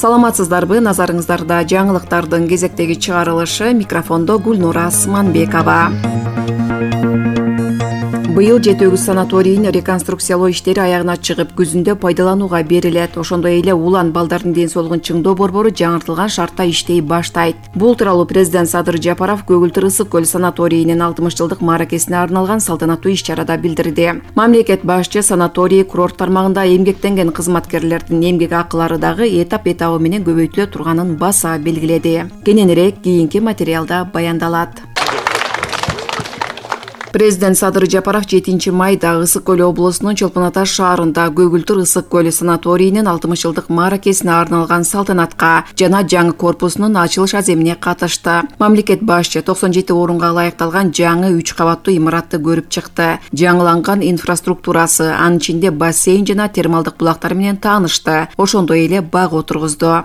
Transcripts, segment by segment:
Саламатсыздарбы? Назарыңыздарда жаңылыктардын кезектеги чыгарылышы. Микрофондо Гүлнура Сманбекова. Быйыл 7 санаторийин реконструкциялоо иштери аягына чыгып, күзүндө пайдаланууга берилет. Ошондой эле Улан балдардын ден соолугун чыңдоо борбору жаңыртылган шартта иштей баштайт. Бул тууралуу президент Садыр Жапаров Көгүлтүр ысык көл санаторийинин 60 жылдык мааракесине арналган салтанаттуу иш-чарада билдирди. Мамлекет башчы санаторий курорт тармагында эмгектенген кызматкерлердин эмгек акылары дагы этап менен көбөйтүлө турганын баса белгиледи. Кененирээк кийинки материалда баяндалат. Президент Садыр Жапаров 7 майда Ысык көл облусунун Чолпон Ата шаарында Көгүлтүр ысык көл санаторийинин 60 жылдык мааракесине арналган салтанатка жана жаңы корпусунун ачылыш аземине катышты. Мамлекет башчы 97 орунга ылайыкталган жаңы 3 кабаттуу имаратты көрүп чыкты. Жаңыланган инфраструктурасы, анын ичинде бассейн жана термалдык булактар менен таанышты. Ошондой эле бак отургузду.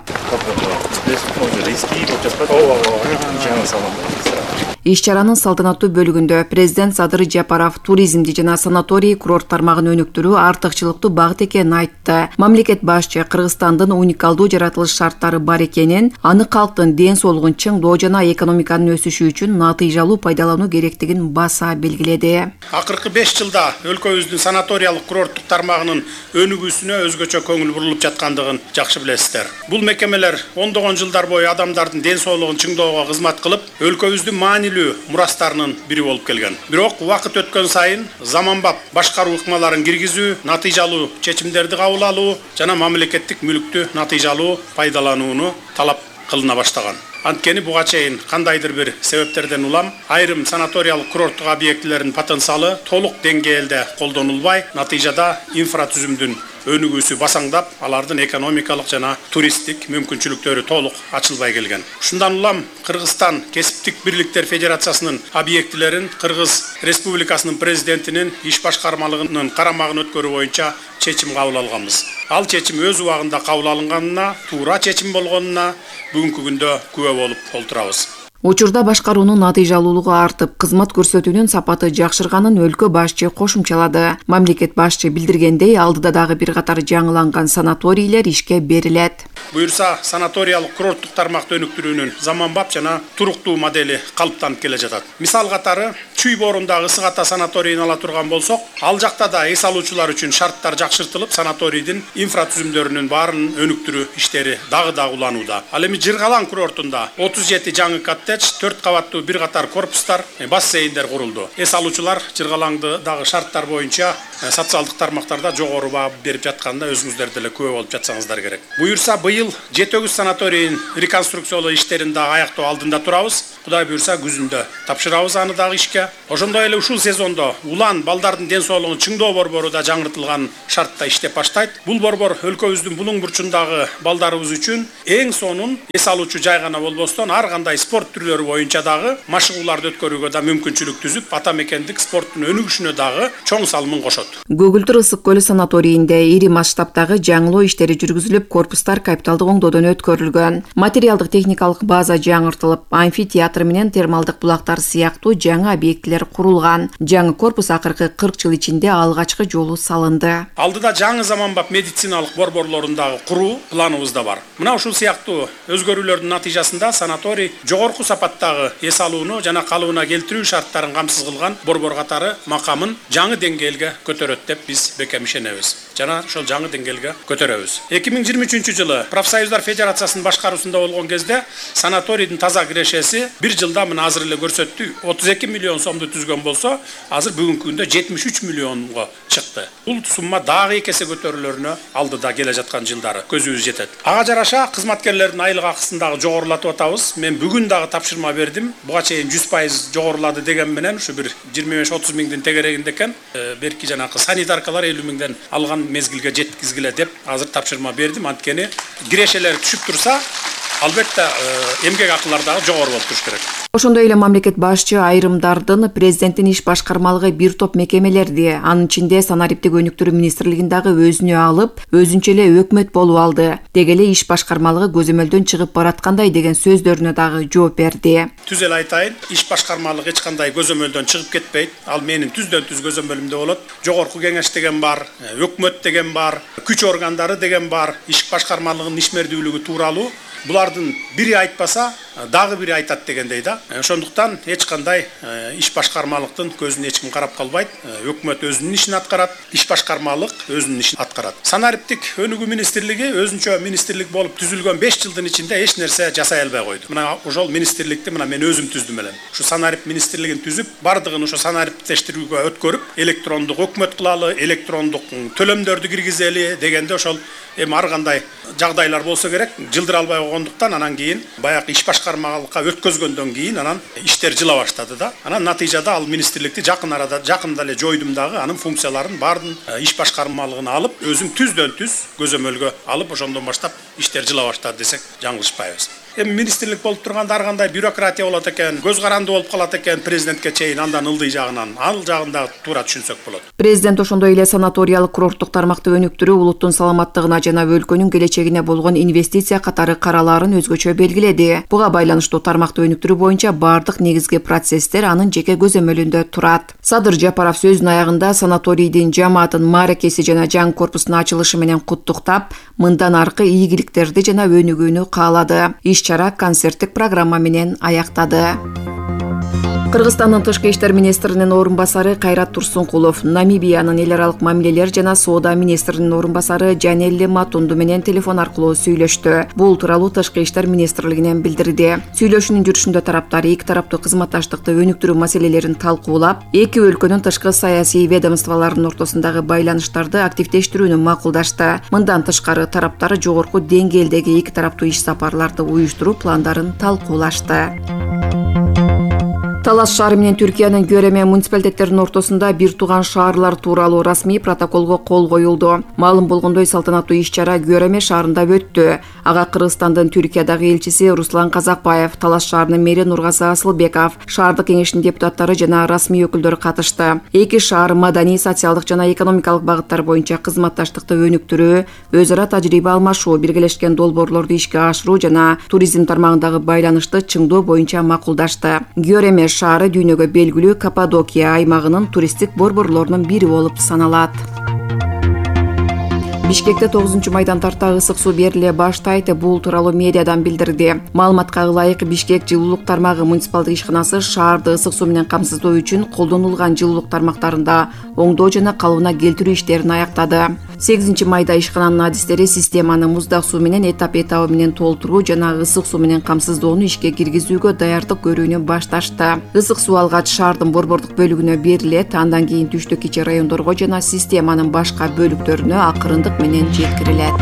Иш-чаранын салтанаттуу бөлүгүндө президент Садыр Жапаров туризмди жана санаторий курорт тармагын өнүктүрүү артыкчылыктуу багыт экенин айтты. Мамлекет башчы Кыргызстандын уникалдуу жаратылыш шарттары бар экенин, аны калктын ден соолугун чыңдоо жана экономиканын өсүшү үчүн натыйжалуу пайдалануу керектигин баса белгиледи. Акыркы 5 жылда өлкөбүздүн санаториялык курорттук тармагынын өнүгүүсүнө өзгөчө көңүл бурулуп жаткандыгын жакшы билесиздер. Бул мекемелер ондогон жылдар бою адамдардын ден соолугун чыңдоого кызмат кылып, өлкөбүздүн маанилүү мурастарынын бири болуп келген. Бирок убакыт өткөн сайын заманбап башкаруу ыкмаларын киргизүү, натыйжалуу чечимдерди кабыл алуу жана мамлекеттик мүлүктү натыйжалуу пайдаланууну талап кылына баштаган. Анткени буга чейин кандайдыр бир себептерден улам айрым санаториялык курорттук объектилердин потенциалы толук деңгээлде колдонулбай, натыйжада инфратүзүмдүн өнүгүүсү басаңдап, алардын экономикалык жана туристтик мүмкүнчүлүктөрү толук ачылбай келген. Ушундан улам Кыргызстан Кесиптик бирликтер Федерациясынын объектилерин Кыргыз Республикасынын президентинин иш башкармалыгынын карамагына өткөрүү боюнча чечим кабыл алганбыз. Ал чечим өз убагында кабыл алынганына, туура чечим болгонуна бүгүнкү күндө күбө болуп олтурабыз. Учурда башкаруунун натыйжалуулугу артып, кызмат көрсөтүүнүн сапаты жакшырганын өлкө башчы кошумчалады. Мамлекет башчы билдиргендей, алдыда дагы бир катар жаңыланган санаторийлер ишке берилет. Буюрса, санаториялык курорттук тармакты өнүктүрүүнүн заманбап жана туруктуу модели калыптанып келе жатат. Мисал катары, Чүй боорундагы Ысык Ата санаторийин ала турган болсок, ал жакта да эс алуучулар үчүн шарттар жакшыртылып, санаторийдин инфратүзүмдөрүнүн баарын өнүктүрүү иштери дагы уланууда. Ал эми Жыргалаң курортунда 37 жаңы коттедж, 4 кабаттуу бир катар корпустар, бассейндер курулду. Эс алуучулар Жыргалаңды дагы шарттар боюнча социалдык тармактарда жогору баа берип жатканда өзүңүздөр деле күбө болуп жатсаңыздар керек. Буюрса, быйыл 7 санаторийин реконструкциялоо иштерин да аяктоо алдында турабыз. Кудай буюрса, күзүндө тапшырабыз аны дагы ишке. Ошондой эле ушул сезондо Улан балдардын ден соолугун чыңдоо борбору да жаңыртылган шартта иштеп баштайт. Бул борбор өлкөбүздүн булуң бурчундагы балдарыбыз үчүн эң сонун эс алуучу жай гана болбостон, ар кандай спорт түрлөрү боюнча дагы машыгууларды өткөрүүгө да мүмкүнчүлүк түзүп, ата мекендик спорттун өнүгүшүнө дагы чоң салымын кошот. Көгүлтүр ысык көл санаторийинде ири масштабтагы жаңылоо иштери жүргүзүлүп, корпустар капиталдык оңдоодон өткөрүлгөн. Материалдык техникалык база жаңыртылып, амфитеатр менен термалдык булактар сыяктуу жаңы объектилер курулган. Жаңы корпус акыркы 40 жыл ичинде алгачкы жолу салынды. Алдыда жаңы заманбап медициналык борборлорун дагы куруу планыбызда бар. Мына ушул сыяктуу өзгөрүүлөрдүн натыйжасында санаторий жогорку сапаттагы эс алууну жана калыбына келтирүү шарттарын камсыз кылган борбор катары макамын жаңы деңгээлге көтөрөт деп биз бекем ишенебиз. Жана ошол жаңы деңгээлге көтөрөбүз. 2023 жылы Профсоюздар Федерациясынын башкаруусунда болгон кезде санаторийдин таза кирешеси бир жылда мына азыр эле көрсөттү 32 миллион сомду түзгөн болсо, азыр бүгүнкү күндө 73 миллионго чыкты. Бул сумма дагы 2 эсе көтөрүлөрүнө алдыда келе жаткан жылдары көзүбүз жетет. Ага жараша кызматкерлердин айлык акысын дагы жогорулатып атабыз. Мен бүгүн дагы тапшырма бердим. Буга чейин 100% жогорулады деген менен ушу бир 25-30 миңдин тегерегинде экен. Берки жанакы санитаркалар 50 миңден алган мезгилге жеткизгиле деп азыр тапшырма бердим. Анткени кирешелер түшүп турса, албетте эмгек акылары дагы жогору болуп туруш керек. Ошондой эле мамлекет башчы айрымдардын президенттин иш башкармалыгы бир топ мекемелерди, анын ичинде санариптик өнүктүрүү министрлигин дагы өзүнө алып, өзүнчө эле өкмөт болуп алды. Деги эле иш башкармалыгы көзөмөлдөн чыгып бараткандай деген сөздөрүнө дагы жооп берди. Түз эле айтайын, иш башкармалыгы эч кандай көзөмөлдөн чыгып кетпейт. Ал менин түздөн түз көзөмөлүмдө болот. Жогорку кеңеш деген бар, өкмөт деген бар, күч органдары деген бар. Иш башкармалыгынын ишмердүүлүгү тууралуу булардын бири айтпаса, дагы бири айтат дегендей да. Ошондуктан эч кандай иш башкармалыктын көзүнө эч ким карап калбайт. Өкмөт өзүнүн ишин аткарат, иш башкармалык өзүнүн ишин аткарат. Санариптик өнүгүү министрлиги өзүнчө министрлик болуп түзүлгөн 5 жылдын ичинде эч нерсе жасай албай койду. Мына ошол министрликти мен өзүм түздүм элем. Ушу санарип министрлигин түзүп, бардыгын ошо санариптештирүүгө өткөрүп, электрондук өкмөт кылалы, электрондук төлөмдөрдү киргизели дегенде ошол эми ар кандай жагдайлар болсо керек, жылдыра албай койгондуктан анан кийин баягы иш башкармалыкка өткөзгөндөн кийин анан иштер жыла баштады да. Анан натыйжада ал министрликти жакында эле жойдум дагы, анын функцияларын баарын иш башкармалыгына алып, өзүм түздөн түз көзөмөлгө алып, ошондон баштап иштер жыла баштады десек жаңылышпайбыз. Эми министрлик болуп турганда ар кандай бюрократия болот экен, көз каранды болуп калат экен президентке чейин, андан ылдый жагынан, ал жагын дагы туура түшүнсөк болот. Президент ошондой эле санаториялык курорттук тармакты өнүктүрүү улуттун саламаттыгына жана өлкөнүн келечегине болгон инвестиция катары каралаарын өзгөчө белгиледи. Буга байланыштуу тармакты өнүктүрүү боюнча бардык негизги процесстер анын жеке көзөмөлүндө турат. Садыр Жапаров сөзүнүн аягында санаторийдин жамаатын мааракеси жана жаңы корпусунун ачылышы менен куттуктап, мындан аркы ийгиликтерди жана өнүгүүнү каалады. Иш-чара концерттик программа менен аяктады. Кыргызстандын тышкы иштер министринин орун басары Кайрат Турсункулов Намибиянын эл аралык мамилелер жана соода министринин орун басары Жанелли Матунду менен телефон аркылуу сүйлөштү. Бул тууралуу тышкы иштер министрлигинен билдирди. Сүйлөшүүнүн жүрүшүндө тараптар эки тараптуу кызматташтыкты өнүктүрүү маселелерин талкуулап, эки өлкөнүн тышкы саясий ведомстволорунун ортосундагы байланыштарды активдештирүүнү макулдашты. Мындан тышкары тараптар жогорку деңгээлдеги эки тараптуу иш сапарларды уюштуруу пландарын талкуулашты. Талас шаары менен Түркиянын Гөреме муниципалитеттеринин ортосунда бир тууган шаарлар тууралуу расмий протоколго кол коюлду. Маалым болгондой салтанаттуу иш-чара Гөреме шаарында өттү. Ага Кыргызстандын Түркиядагы элчиси Руслан Казакбаев, Талас шаарынын мэри Нургазы Асылбеков, шаардык кеңештин депутаттары жана расмий өкүлдөрү катышты. Эки шаар маданий, социалдык жана экономикалык багыттар боюнча кызматташтыкты өнүктүрүү, өз ара тажрыйба алмашуу, биргелешкен долбоорлорду ишке ашыруу жана туризм тармагындагы байланышты чыңдоо боюнча макулдашты. Гөреме шаары дүйнөгө белгилүү Каппадокия аймагынын туристтик борборлорунун бири болуп саналат. Бишкекте 9-майдан тарта ысык суу бериле баштайт. Бул тууралуу медиадан билдирди. Маалыматка ылайык, Бишкек жылуулук тармагы муниципалдык ишканасы шаарды ысык суу менен камсыздоо үчүн колдонулган жылуулук тармактарында оңдоо жана калыбына келтирүү иштерин аяктады. 8-майда ишкананын адистери системаны муздак суу менен этап менен толтуруу жана ысык суу менен камсыздоону ишке киргизүүгө даярдык көрүүнү башташты. Ысык суу алгач шаардын борбордук бөлүгүнө берилет, андан кийин түштүк кичи райондорго жана системанын башка бөлүктөрүнө акырындык менен жеткирилет.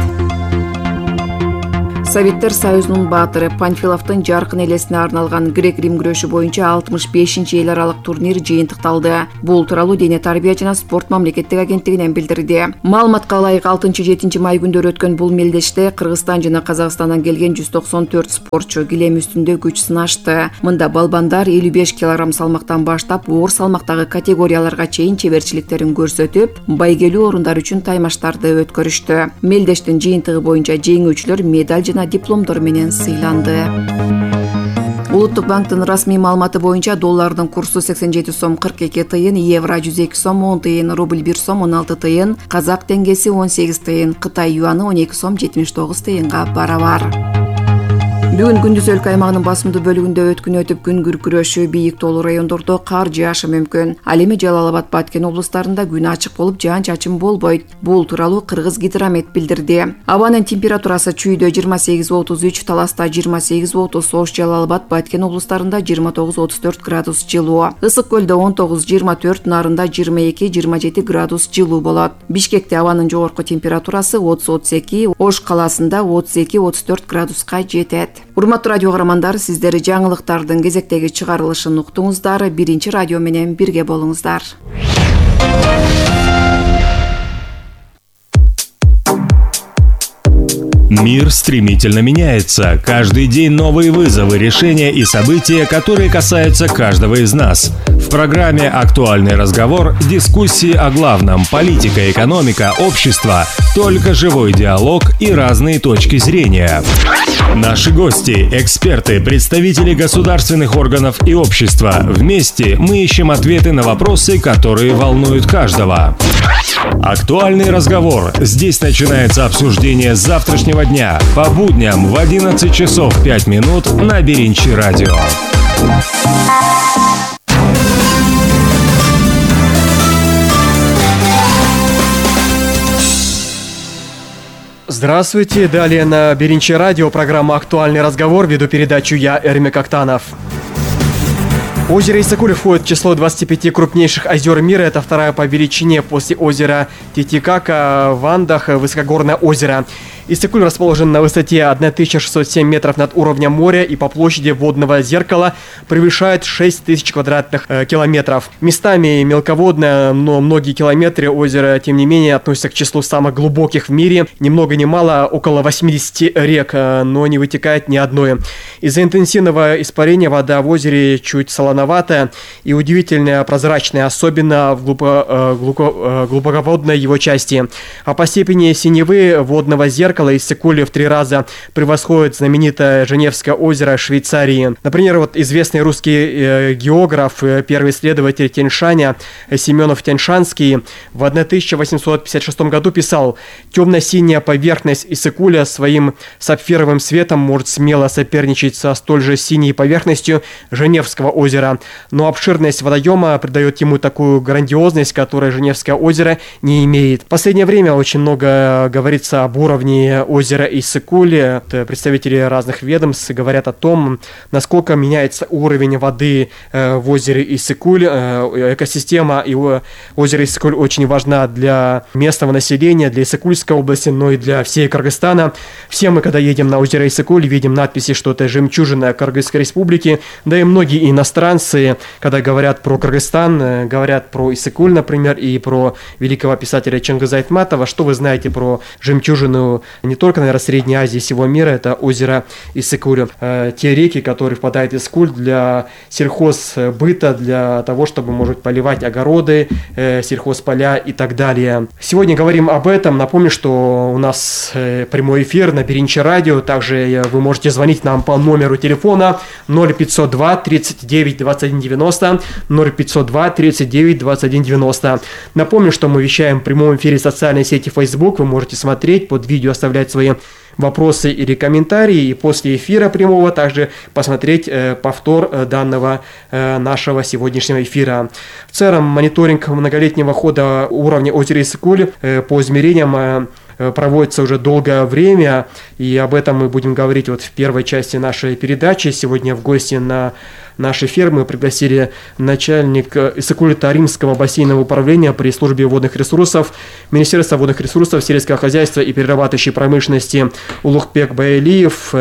Советтер Союзунун баатыры Панфиловдун жаркын элесине арналган грек-рим күрөшү боюнча 65-эл аралык турнир жыйынтыкталды. Бул тууралуу Дене тарбия жана спорт мамлекеттик агенттигинен билдирди. Маалыматка ылайык 6-7 май күндөрү өткөн бул мелдеште Кыргызстан жана Казакстандан келген 194 спортчу килем үстүндө күч сынашты. Мында балбандар 55 кг салмактан баштап оор салмактагы категорияларга чейин чеберчиликтерин көрсөтүп, байгелүү орундар үчүн таймаштарды өткөрүштү. Мелдештин жыйынтыгы боюнча жеңүүчүлөр медаль жана дипломдор менен сыйланды. Улуттук банктын расмий маалыматы боюнча доллардын курсу 87 сом 42 тыйын, евро 102 сом 10 тыйын, рубль 1 сом 16 тыйын, казак теңгеси 18 тыйын, Кытай юаны 12 сом 79 тыйынга барабар. Бүгүн күндүз өлкө аймагынын басымдуу бөлүгүндө өткүн өтүп, күн күркүрөшү, бийик тоолуу райондордо кар жаашы мүмкүн. Ал эми Жалал Абад, Баткен облустарында күн ачык болуп, жаан-чачын болбойт. Бул тууралуу Кыргыз гидромет билдирди. Абанын температурасы чүйдө 28-33, Таласта 28-30, Ош, Жалал Абад, Баткен облустарында 29-34 градус жылуу. Ысык көлдө 19-24, Нарында 22-27 градус жылуу болот. Бишкекте абанын жогорку температурасы 30-32, Ош калаасында 32-34 градуска жетет. Урматтуу радио каармандар, сиздер жаңылыктардын кезектеги чыгарылышын уктуңуздар. Биринчи радио менен бирге болуңуздар. Мир стремительно меняется. Каждый день новые вызовы, решения и события, которые касаются каждого из нас. В программе «Актуальный разговор» дискуссии о главном – политика, экономика, общество, только живой диалог и разные точки зрения. Наши гости – эксперты, представители государственных органов и общества. Вместе мы ищем ответы на вопросы, которые волнуют каждого. «Актуальный разговор». Здесь начинается обсуждение завтрашнего дня по будням в 11 часов 5 минут на Беринчи радио. Здравствуйте, далее на Беринчи радио программа «Актуальный разговор», веду передачу я, Эрмек Актанов. Озеро Иссык-Куль входит в число 25 крупнейших озер мира. Это вторая по величине после озера Титикака в Андах высокогорное озеро. Иссык-Куль расположен на высоте 1607 метров над уровнем моря и по площади водного зеркала превышает 6000 квадратных километров. Местами мелководное, но многие километры озера, тем не менее, относятся к числу самых глубоких в мире. Ни много ни мало, около 80 рек, но не вытекает ни одной. Из-за интенсивного испарения вода в озере чуть солоноватая и удивительно прозрачная, особенно в глубоководной его части. А по степени синевы водного зеркала Иссык-Куль в 3 раза превосходит знаменитое Женевское озеро Швейцарии. Например, вот известный русский географ, первый исследователь Тянь-Шаня Семенов Тянь-Шанский в 1856 году писал: «Темно-синяя поверхность Иссык-Куля своим сапфировым светом может смело соперничать со столь же синей поверхностью Женевского озера, но обширность водоема придает ему такую грандиозность, которой Женевское озеро не имеет». В последнее время очень много говорится об уровне озера Иссык-Куль. Представители разных ведомств говорят о том, насколько меняется уровень воды в озере Иссык-Куль. Экосистема озера Иссык-Куль очень важна для местного населения, для Иссык-Кульской области, но и для всей Кыргызстана. Все мы, когда едем на озеро Иссык-Куль, видим надписи, что это жемчужина Кыргызской республики. Да и многие иностранцы, когда говорят про Кыргызстан, говорят про Иссык-Куль, например, и про великого писателя Чингиза Айтматова. Что вы знаете про жемчужину не только, наверное, Средней Азии, всего мира, это озеро Иссык-Куль. Те реки, которые впадают в Иссык-Куль для сельхозбыта, для того, чтобы, может, поливать огороды, сельхозполя и так далее. Сегодня говорим об этом. Напомню, что у нас прямой эфир на Беринчи радио. Также вы можете звонить нам по номеру телефона 0502 39 21 90, 0502 39 21 90. Напомню, что мы вещаем в прямом эфире в социальной сети Facebook. Вы можете смотреть под видео, оставлять свои вопросы или комментарии, и после эфира прямого также посмотреть повтор данного нашего сегодняшнего эфира. В целом, мониторинг многолетнего хода уровня озера Иссык-Куль по измерениям проводится уже долгое время, и об этом мы будем говорить вот в первой части нашей передачи. Сегодня в гости на наш эфир мы пригласили начальника Иссык-Куль-Таримского бассейнового управления при службе водных ресурсов Министерства водных ресурсов, сельского хозяйства и перерабатывающей промышленности Улухбек Баэлиев,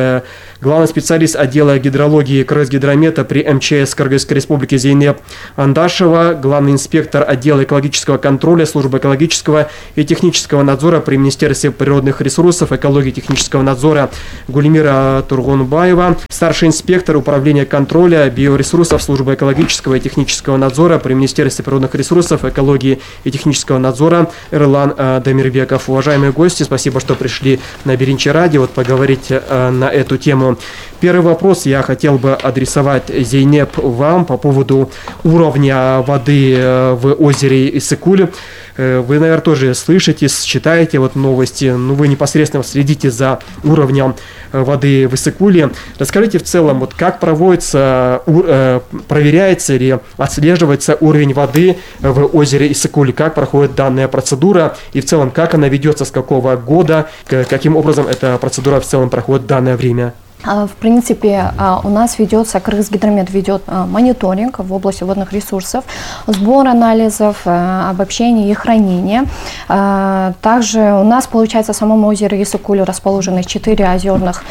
главный специалист отдела гидрологии Кыргызгидромета при МЧС Кыргызской республики Зейнеп Андашева, главный инспектор отдела экологического контроля службы экологического и технического надзора при Министерстве природных ресурсов, экологии и технического надзора Гулимира Тургунбаева, старший инспектор управления контроля биоресурсов службы экологического и технического надзора при Министерстве природных ресурсов, экологии и технического надзора Эрлан Дамирбеков. Уважаемые гости, спасибо, что пришли на Беринчи радио поговорить на эту тему. Первый вопрос я хотел бы адресовать, Зейнеп, вам по поводу уровня воды в озере Иссык-Куль. Вы, наверное, тоже слышите, читаете вот новости, но вы непосредственно следите за уровнем воды в Иссык-Куле. Расскажите в целом, вот как проводится, проверяется или отслеживается уровень воды в озере Иссык-Куль, как проходит данная процедура и в целом как она ведется, с какого года, каким образом эта процедура в целом проходит в данное время? В принципе, у нас ведется, Кыргызгидромет ведет мониторинг в области водных ресурсов, сбор анализов, обобщение и хранение. Также у нас, получается, в самом озере Исыкуль расположены 4 озерных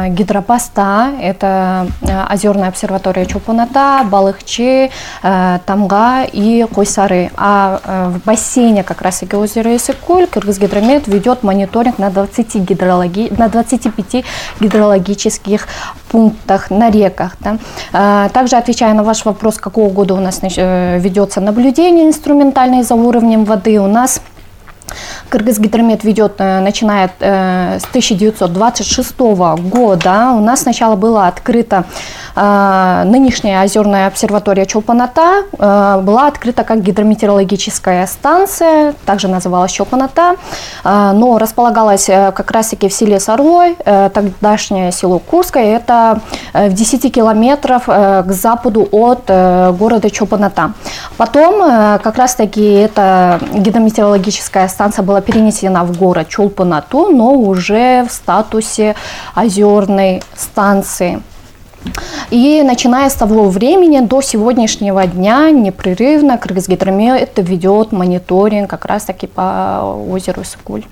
гидропоста. Это озерная обсерватория Чолпоната, Балыкчы, Тамга и Койсары. А в бассейне как раз таки озера Исыкуль Кыргызгидромет ведет мониторинг на 25 гидрологических пунктах на реках. Да. Также, отвечая на ваш вопрос, какого года у нас ведется наблюдение инструментальное за уровнем воды, у нас Кыргызгидромет ведет, начиная с 1926 года. У нас сначала была открыта нынешняя озерная обсерватория Чолпоната, была открыта как гидрометеорологическая станция, также называлась Чолпоната, но располагалась как раз-таки в селе Сарлой, тогдашнее село Курское, это в 10 километров к западу от города Чолпоната. Потом как раз-таки эта гидрометеорологическая станция была перенесена в город Чолпонату, но уже в статусе озерной станции. И начиная с того времени до сегодняшнего дня непрерывно Кыргызгидромет ведет мониторинг как раз-таки по озеру Исыкуль.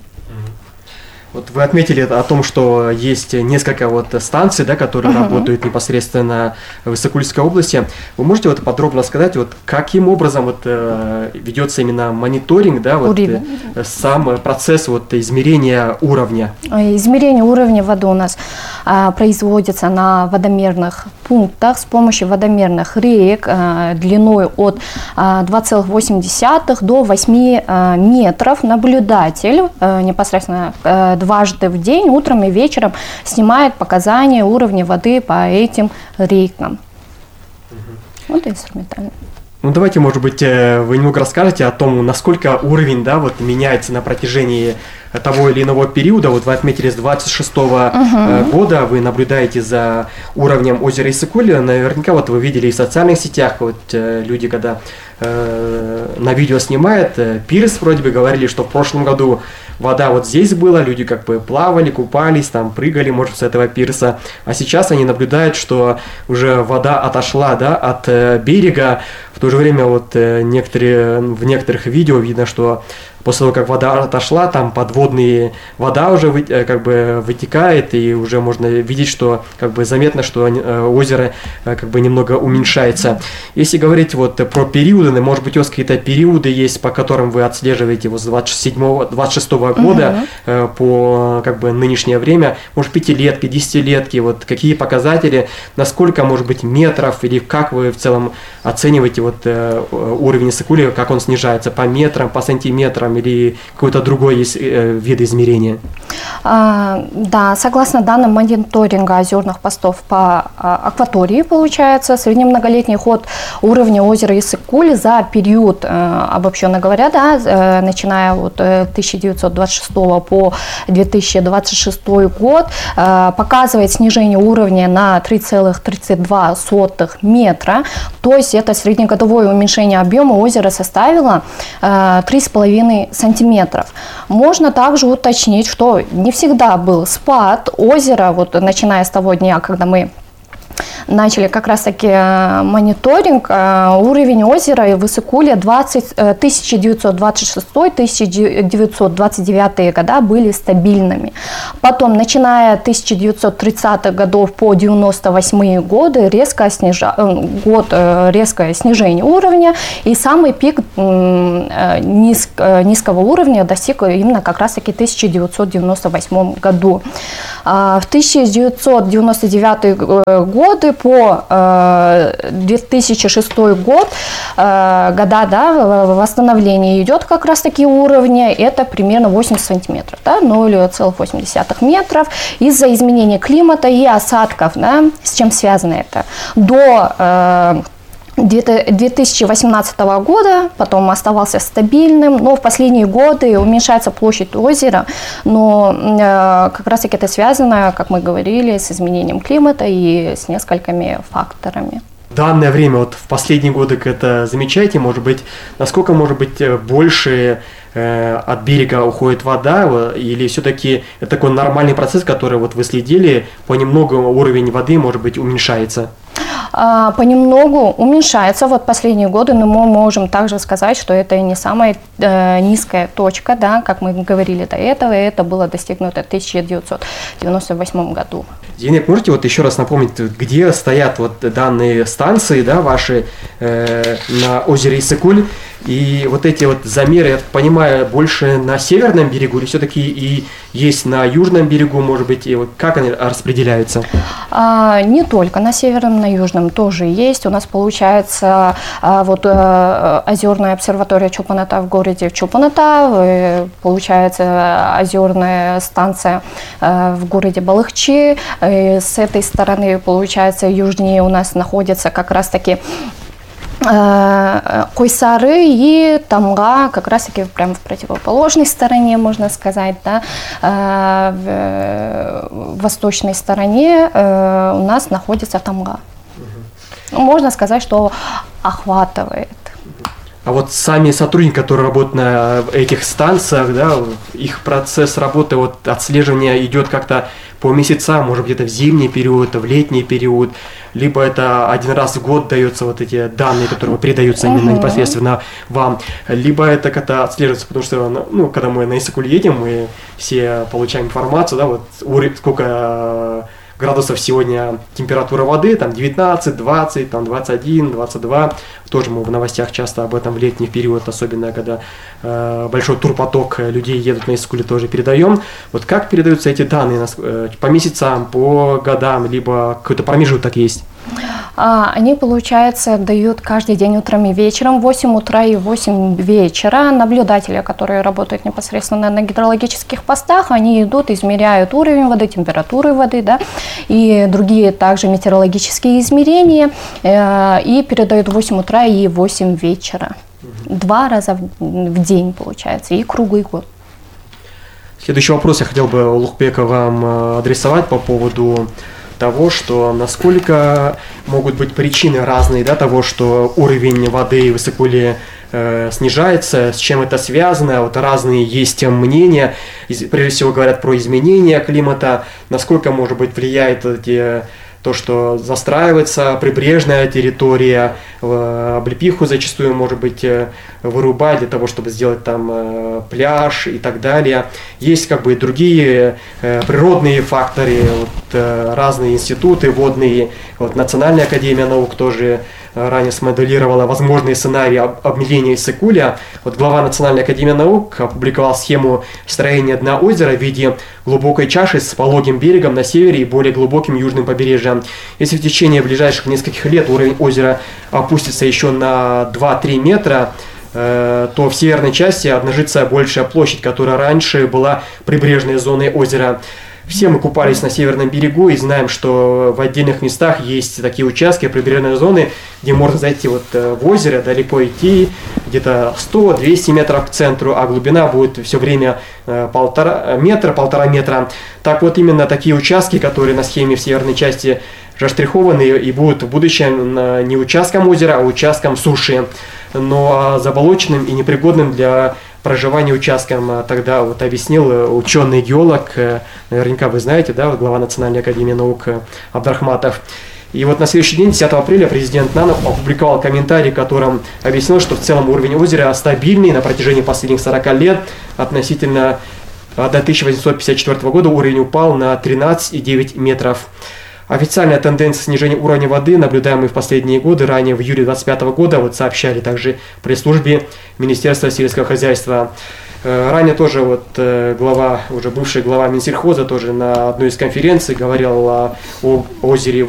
Вот вы отметили о том, что есть несколько станций, да, которые работают непосредственно в Исыкульской области. Вы можете подробно сказать, каким образом ведется именно мониторинг, да, сам процесс измерения уровня? Измерение уровня воды у нас производится на водомерных пунктах с помощью водомерных рек длиной от 2,8 до 8 метров. Наблюдатель непосредственно дважды в день, утром и вечером, снимает показания уровня воды по этим рекам. Вот инструментально. Ну, давайте, может быть, вы немного расскажете о том, насколько уровень, да, меняется на протяжении того или иного периода. Вы отметили, с 26-го года вы наблюдаете за уровнем озера Исыкуль. Наверняка вы видели и в социальных сетях, люди, когда на видео снимают, пирс вроде бы говорили, что в прошлом году вода здесь была, люди плавали, купались, прыгали, может, с этого пирса. А сейчас они наблюдают, что уже вода отошла, да, от берега. В то же время в некоторых видео видно, что после того, как вода отошла, там подводная вода уже вытекает, и уже можно видеть, что заметно, что озеро немного уменьшается. Если говорить про периоды, может быть, у вас какие-то периоды есть, по которым вы отслеживаете с 26-го года по нынешнее время, может, 5-летки, 10-летки, какие показатели, насколько, может быть, метров, или как вы в целом оцениваете уровень Исыкуля, как он снижается, по метрам, по сантиметрам, или какой-то другой есть вид измерения? Да, согласно данным мониторинга озерных постов по акватории, получается, среднемноголетний ход уровня озера Исыкуль за период, обобщенно говоря, да, начиная от 1926 по 2026 год, показывает снижение уровня на 3,32 метра, то есть это среднегодовое уменьшение объема озера составило 3,5 сантиметров. Можно также уточнить, что не всегда был спад озера, начиная с того дня, когда мы начали как раз-таки мониторинг, уровень озера в Исыкуле 1926-1929 года были стабильными. Потом, начиная с 1930-х годов по 1998 годы, резкое снижение уровня, и самый пик низкого уровня достиг именно как раз-таки в 1998 году. В 1999 годы по 2006 год, восстановление идет как раз таки уровня, это примерно 80 сантиметров, да, 0,8 метров. Из-за изменения климата и осадков, да, с чем связано это, до 2018 года, потом оставался стабильным, но в последние годы уменьшается площадь озера, но как раз таки это связано, как мы говорили, с изменением климата и с несколькими факторами. данное время, вот в последние годы это замечаете, может быть, насколько может быть больше от берега уходит вода, или все-таки это такой нормальный процесс, который вот вы следили, понемногу уровень воды, может быть, уменьшается? Понемногу уменьшается. Вот последние годы, но мы можем также сказать, что это не самая низкая точка, да, как мы говорили до этого, и это было достигнуто в 1998 году. Зейнеп, можете вот еще раз напомнить, где стоят вот данные станции, да, ваши на озере Иссык-Куль, и вот эти вот замеры, я так понимаю, больше на северном берегу или все-таки и есть на южном берегу, может быть, и вот как они распределяются? Не только на северном, на южном тоже есть. У нас получается вот озерная обсерватория Чолпон-Ата в городе Чолпон-Ата, получается озерная станция в городе Балыхчи. С этой стороны, получается, южнее у нас находится как раз-таки Койсары и Тамга, как раз таки прямо в противоположной стороне, можно сказать, да, в восточной стороне у нас находится Тамга. Можно сказать, что охватывает. А вот сами сотрудники, которые работают на этих станциях, да, их процесс работы, вот отслеживания идет как-то по месяцам, может где-то в зимний период, в летний период, либо это один раз в год дается вот эти данные, которые передаются именно непосредственно вам, либо это как-то отслеживается, потому что, ну, когда мы на Иссык-Куль едем, мы все получаем информацию, да, вот сколько градусов сегодня температура воды, там 19, 20, там 21, 22. Тоже мы в новостях часто об этом в летний период, особенно когда большой турпоток людей едут на Иссык-Куль, тоже передаем. Вот как передаются эти данные по месяцам, по годам, либо какой-то промежуток есть? Они, получается, дают каждый день утром и вечером, в 8 утра и 8 вечера. Наблюдатели, которые работают непосредственно на гидрологических постах, они идут, измеряют уровень воды, температуру воды, да, и другие также метеорологические измерения, и передают в 8 утра и 8 вечера. 2 раза в день, получается, и круглый год. Следующий вопрос я хотел бы, Улукбека, вам адресовать по поводу того, что насколько могут быть причины разные, да, того, что уровень воды в Иссык-Куле снижается, с чем это связано, вот разные есть мнения, прежде всего говорят про изменения климата, насколько, может быть, влияет то, что застраивается прибрежная территория, облепиху зачастую, может быть, вырубать для того, чтобы сделать там пляж и так далее. Есть как бы и другие природные факторы, вот, разные институты водные, вот, Национальная академия наук тоже ранее смоделировала возможные сценарии обмеления Иссык-Куля. Вот глава Национальной академии наук опубликовал схему строения дна озера в виде глубокой чаши с пологим берегом на севере и более глубоким южным побережьем. Если в течение ближайших нескольких лет уровень озера опустится еще на 2-3 метра, то в северной части обнажится большая площадь, которая раньше была прибрежной зоной озера. Все мы купались на северном берегу и знаем, что в отдельных местах есть такие участки прибрежной зоны, где можно зайти вот в озеро, далеко идти, где-то 100-200 метров к центру, а глубина будет все время 1,5 метра. Так вот, именно такие участки, которые на схеме в северной части заштрихованы и будут в будущем не участком озера, а участком суши, но заболоченным и непригодным для проживания участком. Тогда вот объяснил ученый-геолог, наверняка вы знаете, да, вот глава Национальной академии наук Абдрахматов. И вот на следующий день, 10 апреля, президент Нанов опубликовал комментарий, в котором объяснил, что в целом уровень озера стабильный на протяжении последних 40 лет. Относительно до 1854 года уровень упал на 13,9 метров. Официальная тенденция снижения уровня воды, наблюдаемая в последние годы, ранее в июле 2025 года, вот сообщали также при службе Министерства сельского хозяйства. Ранее тоже вот уже бывший глава Минсельхоза тоже на одной из конференций говорил о озере